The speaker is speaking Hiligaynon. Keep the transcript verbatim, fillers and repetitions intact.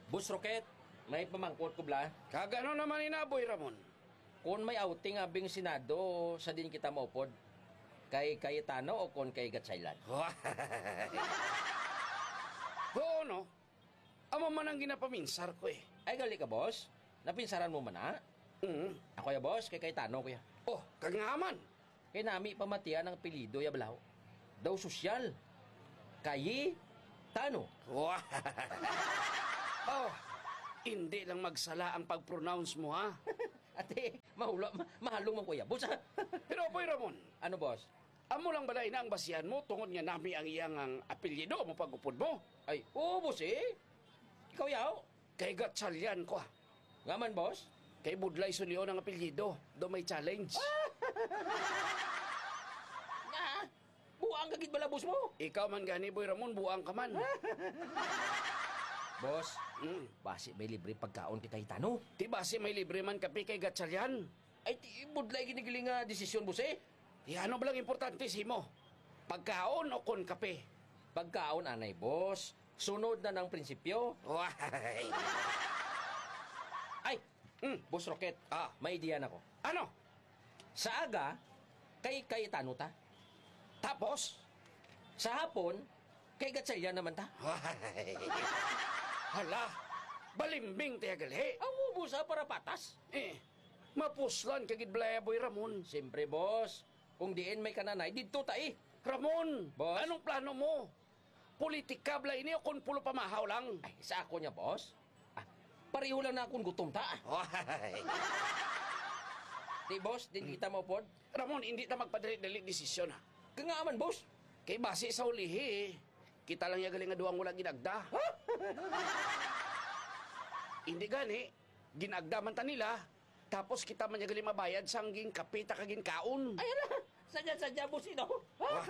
Boss Rocket, may pamangkot ko bala. Kag ano naman ina, Boy Ramon? Kon may outing abing Senado, sa din kita maupod? Kay Cayetano o kon kay Gatchalian? Oo, no? Amo man ang ginapaminsar ko, eh. Ay, gali ka, boss? Napinsaran mo man na? Mm. Ako ya, boss, kay Cayetano ko ya. Oh, kag nga man. Kay nami pamatian ang apelyido ya balaho. Daw sosyal. Cayetano. Wa- Oh, hindi lang magsala ang pag-pronounce mo, ha? Ate, mahula, ma- mahalong man ko ya, boss, ha? Pero, Boy Ramon, ano, boss? Amo lang bala ina ang basihan mo tungod nga nami ang iyang ang apelyido mo pag-upod mo? Ay, oo, boss, eh. Ikaw, yaw? Kay Gatchalian ko, ah. Nga man, boss? Kay Budlay Sulion ang apelyido. Do may challenge. Nga? Buang ka gid bala, boss mo? Ikaw man gani, Boy Ramon, buang ka man. Boss, Mm. basi may libre pagkaon kay Cayetano. Ti basi may libre man kape kay Gatchalian. Ay, ti budlay ginigiling nga desisyon, boss, eh. Ti ano ba lang importante sa imo? Pagkaon o kon kape? Pagkaon, anay, boss. Sunod na ng prinsipyo. Why? Ay, Mm. Boss Rocket, Ah. may idea na ko. Ano? Sa aga, kay Cayetano ta. Tapos? Sa hapon, kay Gatchalian naman ta. Why? Hala, balimbing tayo gali. Ang ubo sa para patas. Eh, mapuslan ka gid balaya, Boy Ramon. Siyempre, boss. Kung diin may kananay, didto ta eh. Ramon, Boss? anong plano mo? Politika bala ini o kon pulo pamahaw lang? Ay, sa ako niya, boss. Ah, pareho lang na akong gutom ta. Why? Di, boss, din kita mo pod. Ramon, hindi ta magpadali-dali desisyon, ha? Kaya nga man, boss. Kay basi sa ulihi, kita lang ya gali nga duwang wala ginagda. Hindi gani, ginagda man ta nila, tapos kita man ya gali mabayad sang ginkape ta kag ginkaon. Ay, ala, sadya-sadya, boss, ino? Why?